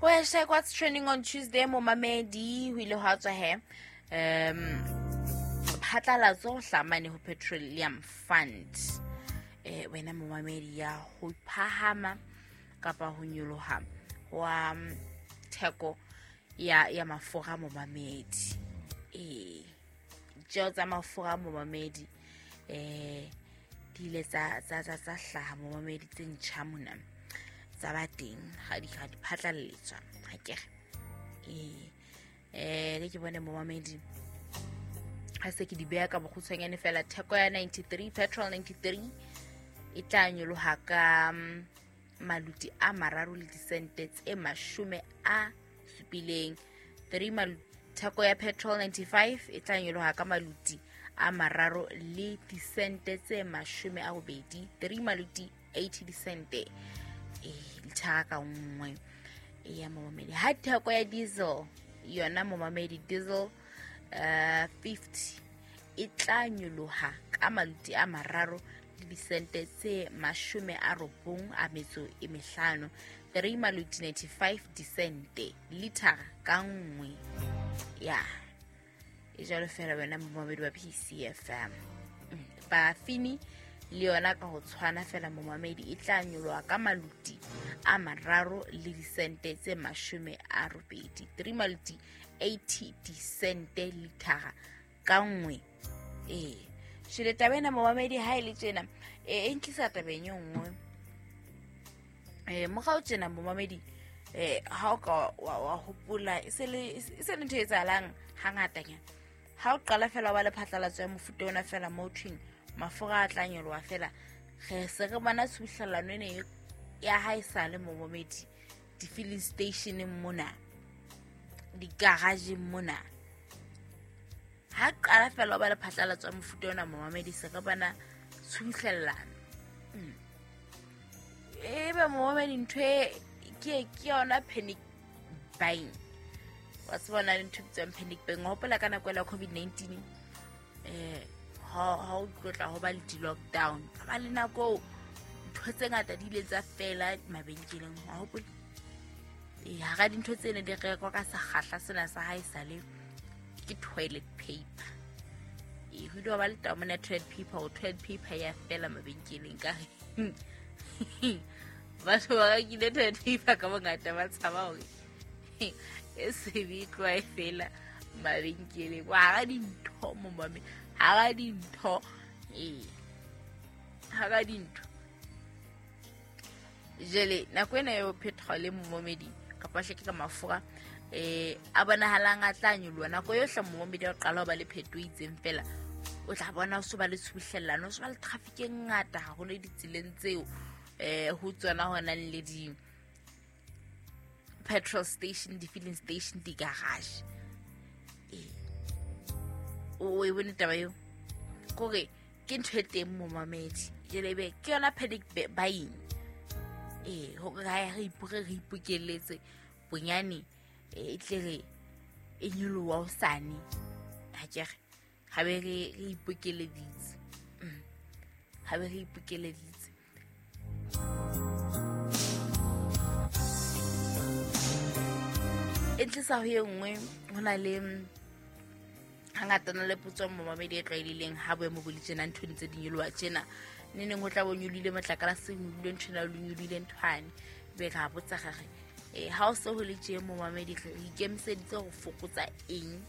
Ho hashtag what's trending on Tuesday, momamedi, ho ile hwa tswa he phatlalatso ho hlamane ho Petroleum Fund. Wena momamedi, ya ho phahama kapa ho nyoloha wa theko ya mafura, momamedi. Ditjeo tsa mafura, momamedi, di ile tsa hlaha, momamedi, tse ntjha mona tsa ba teng ga di phatlalletswa ga kere. Le ke bone, momamedi, ha se ke di beha ka bokgutshwanyane fela. Theko ya 93, petrol 93, e tla nyoloha ka maluti a 3 le disente tse 70. 3. Theko ya petrol 95 e tla nyoloha ka maluti a 3 le disente tse 80, 3 maluti 80 disente lithara ka nngwe ya, momamedi. Ha theko ya diesel yona, momamedi, diesel 50 e tla nyoloha ka maluti a 3 le disente tse 95, 3 maluti 95 disente lithara ka nngwe ya. E jalo fela wena momamedi wa PCFM. Parafini le yona ka ho tshwana fela, momamedi, e tla nyoloha ka maluti a 3 le disente tse 80, 3 maluti 80 disente lithara ka nngwe. Shele taba ena, momamedi, ha e le tjena e ntlisa tabeng e nngwe. Morao tjena, momamedi, ha o ka wa hopola, e se le ntho e etsahalang hangatanyana. Ha o qala fela wa le phatlalatso ya mofuta ona fela mo thweng mafura a tla nyoloha fela, re se re bona tshuhlelano ene ya ha e sale, momamedi, di-filling stationeng mona, di-garageng mona. Ha qala fela o ba le phatlalatso ya mofuta ona, momamedi, se re bona tshuhlellano. Ebe, momamedi, ntho e ke yona panic buying. Wa tseba le ntho e bitswang panic buying. Wa hopola ka nako ela COVID-19, ha o tlotla ho ba le di-lockdown, ka ba le nako ntho tse ngata di ile tsa fela mabenkeleng, wa hopola? Hara dintho tse ne di rekwa ka sekgahla sena sa ha e sale ke toilet paper. Ho ile wa ba le taba mona ya toilet paper, o toilet paper ya fela mabenkeleng ka batho ba rekile toilet paper ka bongata, ba tshaba hore e sebe e tloha e fela mabenkeleng. Hara dintho, momame, hara dintho, hara dintho. Jele nako ena eo petrol, momamedi, kapa hle ke ka mafura a bonahalang a tla nyoloha nako yohle, momamedi, o qala ho ba le pheto e itseng fela, o tla bona o so ba le tshubuhlellano, o so ba le traffic e ngata haholo ditseleng tseo ho tsona ho nang le di petrol station, di-filling station, di-garage. O e bone taba eo kore ke ntho e teng, momamedi. Jele ebe ke yona panic buying, hore ha re ipore re ipokelletse bonyane, e tle re e nyoloha hosane, ha ke re ha be re ipokeleditse. Ha be re ipokeleditse. E tlisa ho e nngwe. Ho na le hangata na le potso, momamedi, e tlwaelehileng ha boemo bo le tjena, ntho tse di nyoloha tjena, ne neng ho tla bo nyolohile motlakase, nyolohile nthwena, le nyolohile nthwane, be ra botsa re re ha o se ho le tje, momamedi, re ikemiseditse ho fokotsa eng?